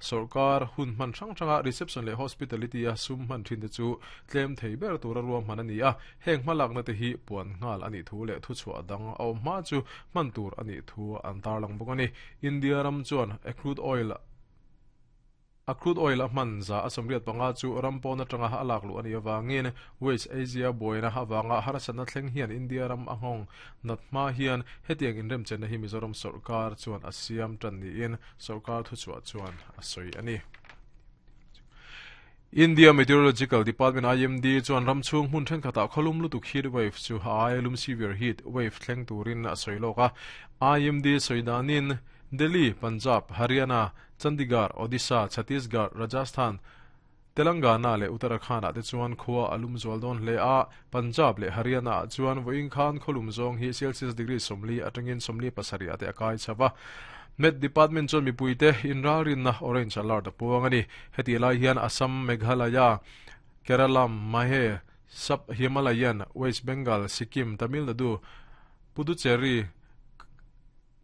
Sawrkar hun hman hrang hranga reception leh hospitality a sum hman thin te chu tlem thei ber tura ruahman a ni a, heng hmalakna te hi puan nghal a nih thu leh thuchhuah dang a awm hma chu hman tur a nih thu an tarlang bawk a ni. India ram chuan a crude oil A crude oil a hman za a 85 chu ram pawn atanga a lak luh a nih avangin West Asia buaina avanga harsatna thleng hian India ram a nghawng nat hma hian hetiang inremchenna hi Mizoram sawrkar chuan a siam tan niin sawrkar thuchhuah chuan a sawi a ni. India Meteorological Department, IMD, chuan ram chhung hmun thenkhatah khawlum lutuk heat wave chu a aia lum severe heat wave thleng turin a sawi lawk a. IMD sawi danin Delhi, Punjab, Haryana, Chandigarh, Odisha, Chhattisgarh, Rajasthan, Telangana leh Uttarakhand-ah te chuan khua a lum zual dawn hle a. Punjab leh Haryana-ah chuan vawiin khan khaw lum zawng hi Celsius degree 40 atangin 47 ah te a kai chho va. Met Department chuan mipuite inralrinna orange alert a puang a ni. Hetih lai hian Assam, Meghalaya, Kerala, Mahe, Sub Himalayan, West Bengal, Sikkim, Tamil Nadu, Puducherry,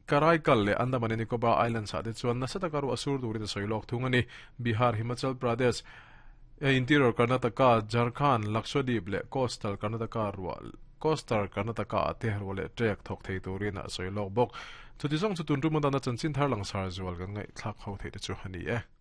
Karaikal leh Andaman and Nicobar Islands ah te chuan nasa taka ruah sur turin a sawi lawk thung a ni. Bihar, Himachal Pradesh, Interior Karnataka, Jharkhand, Lakshadweep leh Coastal Karnataka ruah Coastal Karnataka ah te ruah leh ṭek thawk thei turin a sawi lawk bawk. Chuti zawng chu tun tum atana chanchin thar langsar zual kan ngaihthlak ho theih te chu a ni e.